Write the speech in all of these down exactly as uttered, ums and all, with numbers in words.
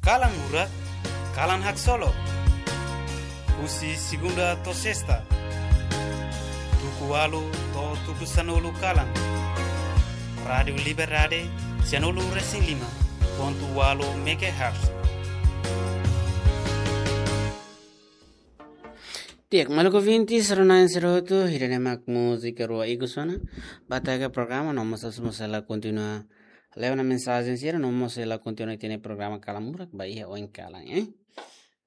Kalan Murak, kalan haksolok. Husi segunda to'o sesta, tuku ualu to'o tuku sanulu kalan. Rádiu Liberdade, sanulu resin lima pontu ualu megahertz. Di'ak, maluk ouvinte, sira-na'in sira hotu, ida-ne'e mak múzika rua ikus ona ba taka programa, no mós ita sei la kontinua leva ona mensajen sira, no mós sei la kontinua ita-nia programa Kalan Murak ba iha oin kalan, eh.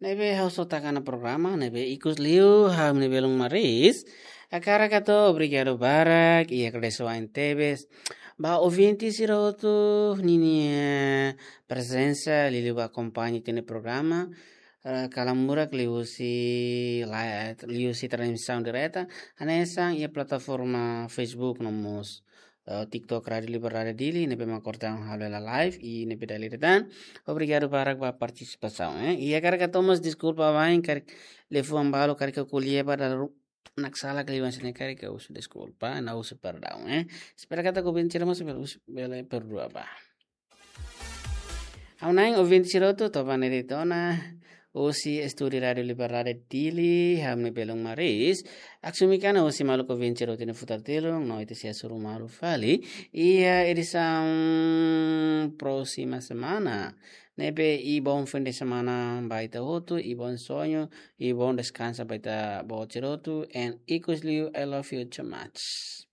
Ne'ebé ha'u só taka ona programa, ne'ebé ikus liu, ha'u-nia belun Maris. Hakarak hato'o obrigadu barak, i agradese wa'in tebes ba ouvinte sira hotu ninia prezensa, liuliu ba akompaña ita-nia programa, eh, Kalan Murak liuhusi live, liuhusi transmisaun direta, hanesan iha plataforma Facebook no mós, eh, TikTok Rádiu Liberdade Dili, ne'ebé mak ohin ha'u halo hela live, i ne'ebé dala ida tan. Obrigadu barak ba partisipasaun, eh. I hakarak hato'o mós deskulpa wa'in, karik liafuan balu, karik ko'alia ba dala ruma sala, karik liafuan sira-ne'e karik, ha'u husu deskulpa, no husu perdaun, eh. Espera katak ouvinte sira mós bele, bele perdua ba. Ha'u hanoin ouvinte sira hotu, to'o ba ne'e de'it ona, husi estúdiu Rádiu Liberdade Dili, ha'u-nia belun Maris. Aksumi kana husi maluk ouvinte sira hotu nia futar tilun, no ita sei hasoru malu fali iha edisaun próxima semana. Ne'ebé, i bom fim de semana ba ita hotu, i bom soñu, i bom deskansa ba ita-boot sira hotu, and ikus liu, I love you too much.